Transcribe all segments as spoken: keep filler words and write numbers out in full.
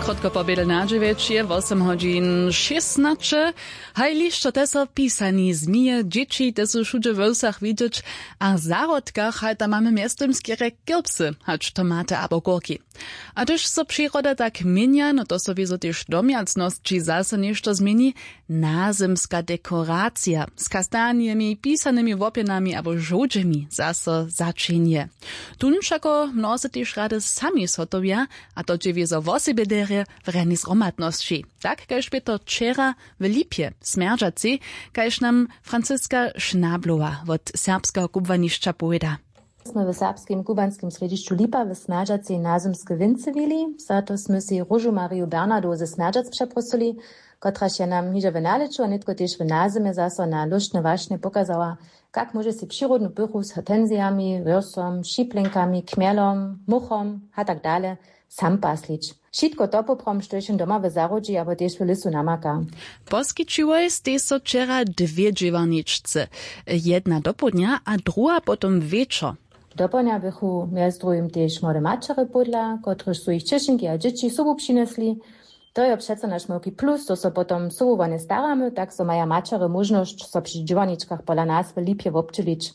Krótko po bědel na dźewjeć je wosym hodźin šěsnaće. Haj lišćo te so pisani zmije dźěći te su wšudźe we wsach widźeć. A w zahrodkach haj tam mamy mjeztym skerje kirpsy hač tomaty abo górki. A hdyž so přiroda tak měnja no to so wězo tež w domjacnosći zaso něšto změni. Nazymska dekoracija z kastanjemi pisanymi łopjenami abo žołdźemi zaso začinje. Tón wšako mnozy tež rady sami zhotowja. A to dźe wězo wosebje derje w rjani zhromadnosći, tak kaž bě to wčera w lipje w smjerdźacej, kaž nam franciska šnablowa wot serbskeho kubłanišća powěda. Smy w serbskim kubłanskim srjedźišću lipa w smjerdźacej nazymske wěncywili. Za to smy sej róžu mariju bernardowu ze smjerdźac přeprosyli, kotraž je nam hižo w nalěću a nětko tež w nazymje zaso na lóštne wašnje pokazała, kak móže sej přirodnu pychu z hortenzijami, wyrsom, šiplinkami, kmjelom, muchom a tak dale sam paslić. Wšitko to poprawom štož jim doma w zahrodźi abo tež w lěsu namaka. Poskićiłoj stej so wčera dwě dźěłarničce, jedna dopołdnja a druha potom wječor. Dopołdnja běchu mjez druhim tež młode maćerje pódla, kotrež su jich ćešinki a dźěći sobu přinjesli. To jo přeco naš małki plus, zo so potom sobu wone staramy, tak zo maja maćerje móžnosć so při dźěłarničkach pola nas w lipje wobdźělić.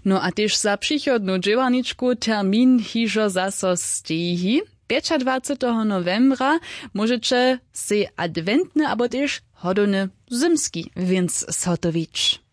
No a tež za přichodnu dźěłarničku termin hižo zaso steji. Pjećadwaceteho nowembra móžeće sej adwentny abo tež hodowny zymski wěnc zhotowić.